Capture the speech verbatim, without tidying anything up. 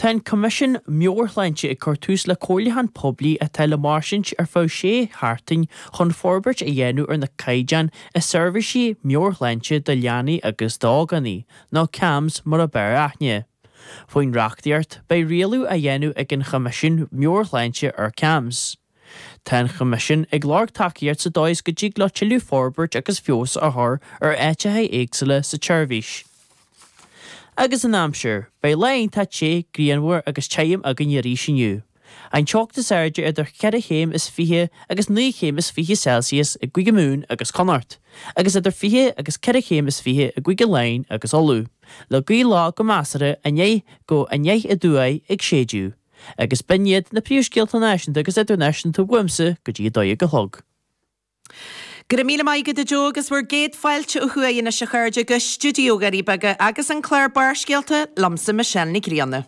Tá an Coimisiún Meabhairshláinte ag cur tús le comhairliúchán poiblí atá le mairstint ar feadh sé sheachtain chun forbairt a dhéanamh ar na caighdeáin i seirbhísí meabhairshláinte do leanaí agus d'ógánaigh, nó CAMHS mar ab fhearr aithne. Faoin reachtaíocht, beidh rialú á dhéanamh ag an Choimisiún Meabhairshláinte ar CAMHS. Tá an Choimisiún ag lorg tacaíocht sa dóigh is go dtig leo tuilleadh forbairt agus feabhas a chur ar áiteacha éagsúla sa tseirbhís. Agus an aimsir, beidh lá iontach te, grianmhar agus tirim againn arís inniu. An teocht is airde idir ceithre chéim is fiche agus naoi chéim is fiche Celsius i gCúige Mumhan agus Connacht, agus idir fiche agus ceithre chéim is fiche i gCúige Laighean agus Uladh, le gaoth lag go measartha aniar go aniar aduaidh ag séideadh. Agus b'in iad na príomhscéalta náisiúnta agus idirnáisiúnta uaimse go dtí a dó dhéag a chlog. Go raibh míle maith agat a Joe agus bhur gcéad fáilte ó thuaidh anois a chairde go stiúideo Dhoirí Beaga agus an clár Barrscéalta liomsa Michelle Ní Grianna.